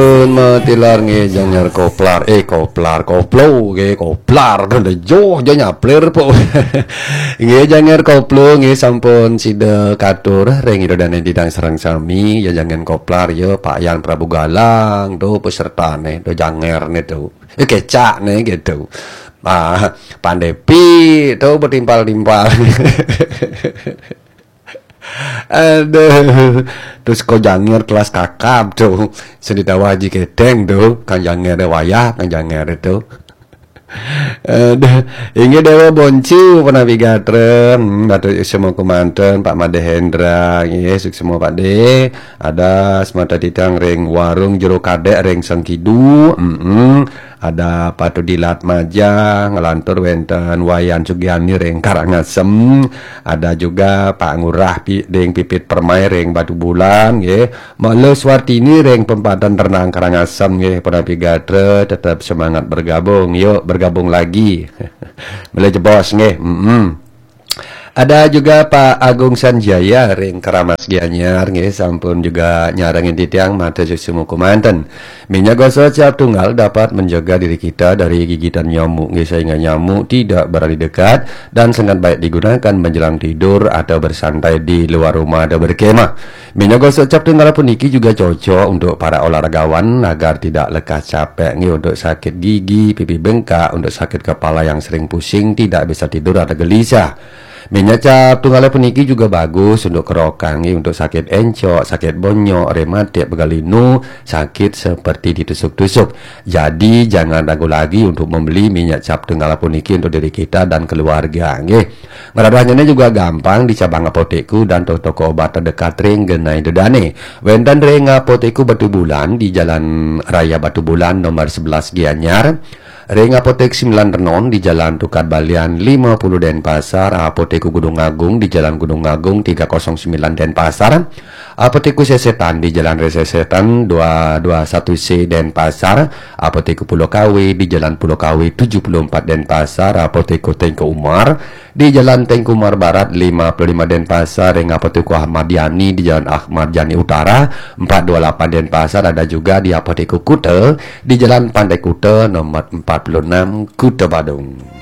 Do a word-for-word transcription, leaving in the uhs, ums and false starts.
Pun matilar nggih, Janger Koplar, eh, Koplar, Koplo nggih, Koplar, kan joh, joh nyaplir po. Nggih, Janger Koplo nggih, sampun sida katur ring Ida Dane Didang sareng sami, ya Janger Koplar, ya Pak Yan Prabu Galang, tuh pesertane, tuh Janger ne tuh. Eh, kecak ne gitu. Ah, Pandepi tuh bertimpal-timpal. Aduh, terus kok Janger kelas kakap tuh. Seni tawa Haji Keteng tuh, Kang Janger wayah, Kang Janger itu. Aduh, inggih Dewa Boncu pun napi gatra, hmm, Datuk Yusuf Moko Manten, Pak Made Hendra, nggih, suksma Pak De. Ada semata titang ring warung Jero Kadek ring Sengkidu, mm ada Patu Dilat Maja, ngelantur wenten Wayan Sugiani ring Karangasem, ada juga Pak Ngurah Pi, ding Pipit Permai ring Batu Bulan, nggih. Mele Suartini ring Pempatan Renang Karangasem, nggih. Pun napi gatra, tetap semangat bergabung. Yuk, bergabung lagi. Mele jebos, nggih. Mm-mm. Ada juga Pak Agung Sanjaya ring Keramas Gianyar, nggih, sampun juga nyarengin titiang mata susu muku manten. Minyak gosok cap tunggal dapat menjaga diri kita dari gigitan nyamuk, nggih, sehingga nyamuk tidak berani dekat dan sangat baik digunakan menjelang tidur atau bersantai di luar rumah atau berkemah. Minyak gosok cap tunggal puniki juga cocok untuk para olahragawan agar tidak lekas capek, nggih, untuk sakit gigi, pipi bengkak, untuk sakit kepala yang sering pusing, tidak bisa tidur atau gelisah. Minyak cap tunggal puniki juga bagus untuk kerokan, nggih, untuk sakit encok, sakit bonyok, rematik, pegal linu, sakit seperti ditusuk-tusuk. Jadi jangan ragu lagi untuk membeli minyak cap tunggal puniki untuk diri kita dan keluarga, nggih. Ngradahnyane juga gampang di cabang apotekku dan toko-toko obat terdekat ring genah Ida Dane. Wenten ring apotekku Batu Bulan di Jalan Raya Batu Bulan nomor sebelas Gianyar. Ring apotek Sembilan Renon di Jalan Tukad Balian lima puluh Denpasar, apotekku Gunung Agung di Jalan Gunung Agung tiga kosong sembilan Denpasar, apotekku Sesetan di Jalan Resesetan dua dua satu C Denpasar, apotekku Pulau Kawe di Jalan Pulau Kawe tujuh puluh empat Denpasar, apotekku Tengku Umar di Jalan Tengku Umar Barat lima puluh lima Denpasar, ring apotekku Ahmad Yani di Jalan Ahmad Yani Utara empat dua lapan Denpasar, ada juga di apotekku Kuta di Jalan Pantai Kuta nomor empat puluh enam Kuta Badung.